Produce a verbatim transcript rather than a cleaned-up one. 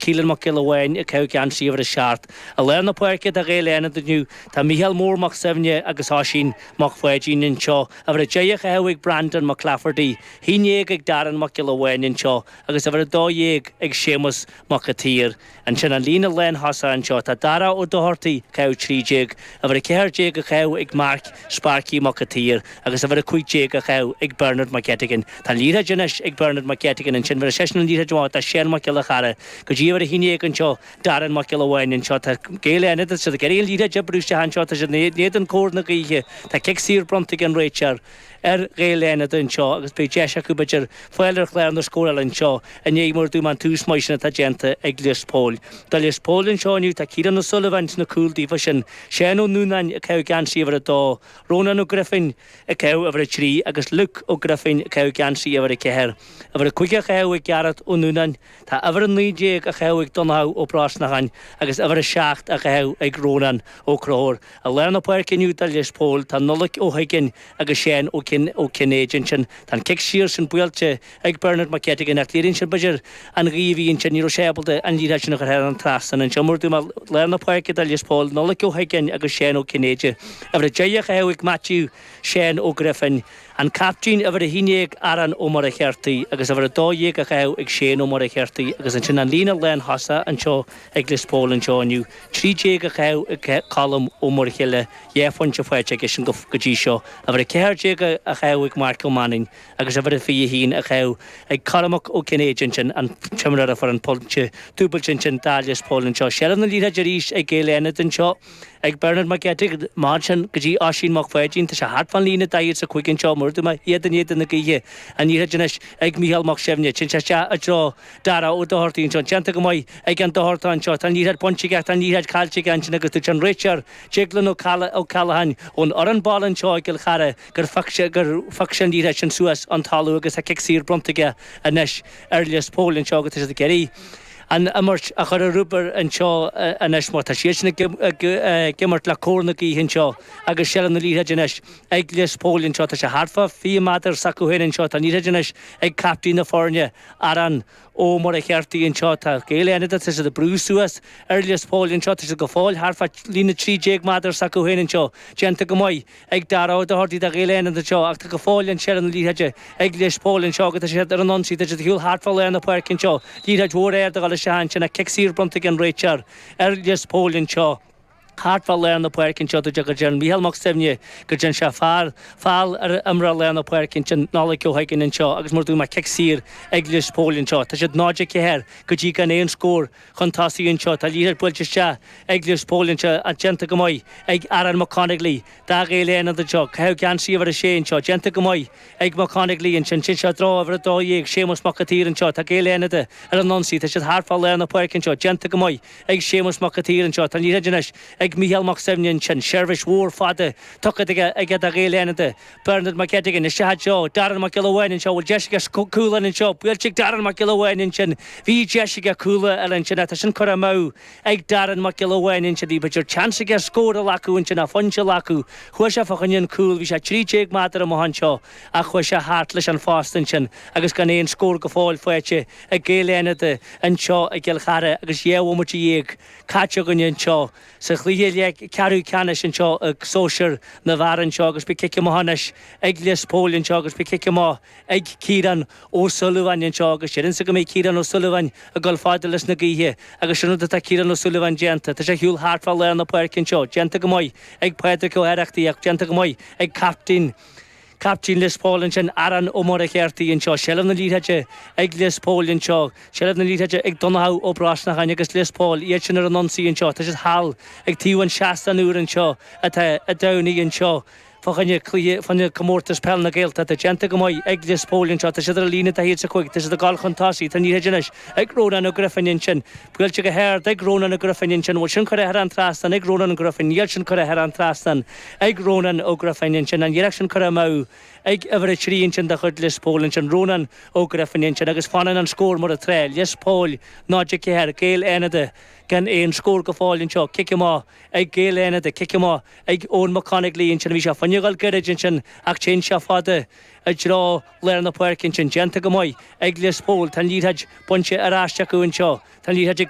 Keelan Mac Giolla Bháin ag caitheamh geansaí uimhir a seacht. I lár na páirce do Ghaeil Fhánada inniu tá Mícheál Mór Mac Suibhne agus Oisín Mac Pháidín anseo. Uimhir a deich á chaitheamh ag Brandon McClafferty, haon déag ag Darren Mac Giolla Bháin anseo agus uimhir a dó dhéag ag Séamus Mac a tSaoir. Ansin an líne lántosaithe anseo tá Dara Ó Dochartaigh ag caitheamh trí déag, uimhir a ceathair déag á chaitheamh ag Mark Sparky Mac a tSaoir agus uimhir a cúig déag á chaitheamh ag Bernard McGettigan. Tá an liathróid anois ag Bernard McGettigan ansin bhí seisean an liathróid amach do Shane Mac Giolla Chara go dtí uimhir a haon déag anseo Darren Mac Giolla Bháin anseo tá Gaeil Fhánada siad ag iarraidh an liathróid a oibriú isteach anseo tá siad in éadan cóir na gaoithe tá cic saor bronnta ag an réiteoir ar Ghaeil Fhánada anseo agus beidh deis acu b'fhéidir fáil ar chlár na scórála anseo i ndiaidh mar dúirt mé an tús maith sin atá déanta ag Lios Póil. Do Lios Póil anseo inniu tá Ciarán O'Sullivan sna cúil daofa sin, Seán Ó Núnáin ag caitheamh geansaí uimhir a dó, Rónán Ó Grifín ag caitheamh uimhir a trí agus Luke Ó Grifín ag caitheamh geansaí uimhir a ceathair. Uimhir a cúig á chaitheamh ag Gearóid Ó Núnáin, tá uimhir a naoi déag á chaitheamh ag Donnchadh Ó Brosnacháin agus uimhir a seacht á chaitheamh ag Rónán Ó Conchúir. I lár na páirce inniu do Lios Póil tá Nollaig Ó hUiginn agus Seán Ó Ó Cinnéide ansin. Tá an cic siar sin buailte ag Bernard McGettigan ach léiríonn sin b'fhéidir an ghaoth a bhí ansin ní raibh sé ábalta an liathróid sin a chur thar an trasnán anseo mar dúirt mé lár na páirce do Lios Póil, Nollaig Ó hUiginn agus Seán Ó Cinnéide. Uimhir a deich á chaitheamh ag Matthew Seán Ó Grifín, an captaen uimhir a haon déag Aaron Ó Muircheartaigh agus uimhir a dó dhéag á chaitheamh ag Shane Ó Muircheartaigh agus ansin an líne lántosaithe anseo ag Lios Póil anseo inniu. Trí déag á chaitheamh ag Colm Ó Muirthile, dhá phointe faighte aige sin go dtí seo. Uimhir a ceathair déag á chaitheamh ag Mark Ó Mainín agus uimhir a fiche haon á chaitheamh ag Cormac Ó Cinnéide ansin an t-imreoir a fuair an pointe dúbailte ansin do Lios Póil anseo. Seilbh na liathróide arís ag Gaeil Fhánada anseo ag Bernard McGettigan mar sin go dtí Oisín Mac Pháidín tá sé thart fán líne daichead is a cúig anseo mar dúirt mé iad in éadan na gaoithe an liathróid anois ag Mícheál Mac Suibhne téann sé isteach i dtreo Dara Ó Dochartaigh anseo déanta go maith ag an Dochartach anseo tá an liathróid bainte aige tá an liathróid caillte aige ansin agus dúirt an réiteoir Declan Ó Callaghan ón fhoireann baile anseo i gCill Chartha gur phioc sé gur phioc sé an liathróid sin suas an talamh agus tá cic saor bronnta aige anois ar Lios Póil anseo agus tá siad ag iarraidh an imirt a chur ar obair anseo anois mar tá siad sin ag imirt le cóir na gaoithe anseo agus seilbh na liathróide anois ag Lios Póil anseo tá sé thart fá fiche méadar s'acu féin anseo tá an liathróid anois ag captaen na foirne Aaron Ó Muircheartaigh anseo tá Gaeil Fhánada tá siad ag brú suas ar Lios Póil anseo tá siad go fóill thart fá líne trí déag méadar s'acu féin anseo déanta go maith ag Dara Ó Dochartaigh do Ghaeil Fhánada anseo ach tá go fóill an seilbh na liathróide ag Lios Póil anseo agus tá siad ar an ionsaí tá siad ag siúl thart fá lár na páirce anseo liathróid mhór ard a dhul isteach ansin ach cic saor bronnta ag an réiteoir ar Lios Póil anseo. Thart fá lár na páirce anseo dúirt go dtearn Mícheál Mac Suibhne go dtearn sé fear feall ar imreoir lár na páirce ansin Nollaig Ó hUiginn anseo agus mar dúirt mé cic saor ag Lios Póil anseo. Tá siad náid a ceathair go dtí gan aon scór chun tosaigh anseo. Tá liathróid buailte isteach ag Lios Póil anseo ach déanta go maith ag Aaron McConigley do Ghaeil Fhánada anseo. Caitheamh geansaí uimhir a sé anseo. Déanta go maith ag McConigley ansin. Sin seo draw uimhir a dó dhéag Séamus Mac an tSaoir anseo. Tá Gaeil Fhánada ar an ionsaí. Tá siad thart fá lár na páirce anseo. Déanta go maith ag Séamus Mac an tSaoir anseo. Tá an liathróid anois ag Mícheál Mac Suibhne ansin. Seirbhís mhór fada tugtha aige aige do Ghaeil Fhánada. Bernard McGettigan isteach anseo. Darren Mac Giolla Bháin anseo. Bhfuil deis aige cúl anseo. Buailte ag Darren Mac Giolla Bháin ansin. Bhí deis aige cúl a fháil ansin. Tá sin curtha amú ag Darren Mac Giolla Bháin ansin. Bhí b'fhéidir seans aige scór a ghlacadh ansin a phointe a ghlacadh. Chuaigh sé fá choinne an cúl, bhí sé trí déag méadar amach anseo ach chuaigh sé thart leis an phost ansin agus gan aon scór go fóill faighte ag Gaeil Fhánada anseo i gCill Chartha agus dhá bhomaite dhéag caite againne anseo sa chluiche leath ceathrú ceannais anseo ag sóisir na bhfear anseo agus beidh cic amach anois ag Lios Póil anseo agus beidh cic amach ag Ciarán Ó Súilleabháin anseo agus déarfainnse go mbeidh Ciarán Ó Súilleabháin ag dul fada leis na gaoithe agus sin rud atá Ciarán Ó Súilleabháin déanta. Tá sé ar shiúl thart fá lár na páirce anseo, déanta go maith ag Pádraig Ó hOireachtaigh ach déanta go maith ag captaen Captaen Lios Póil ansin Aaron Ó Muircheartaigh anseo, seilbh na liathróide ag Lios Póil anseo, seilbh na liathróide ag Donnchadh Ó Brosnacháin agus Lios Póil, iad sin ar an ionsaí anseo, tá siad thall ag taobh an seastán úr anseo atá i dTamhnaigh anseo fá choinne cluiche fá choinne comórtas peil na Gaeltachta déanta go maith ag Lios Póil anseo, tá siad ar an líne daichead is a cúig, tá siad ag dul chun tosaigh, tá an liathróid anois ag Rónán Ó Grifín ansin, buailte go hard ag Rónán Ó Grifín ansin, bhfuil sin curtha thar an trasnán ag Rónán Ó Grifín, níl sin curtha thar an trasnán ag Rónán Ó Grifín ansin, an iarracht sin curtha amú ag uimhir a trí ansin de chuid Lios Póil ansin, Rónán Ó Grifín ansin agus fanann an scór mar atá, Lios Póil náid a ceathair, Gaeil Fhánada. gan aon scór go fóill anseo cic amach ag Gaeil Fhánada cic amach ag Eoin McConigley ansin bhí sé fá choinne dul gairid ansin ach téann sé fada i dtreo lár na páirce ansin déanta go maith ag Lios Póil tá an liathróid bainte ar ais acu anseo Tá an liathróid ag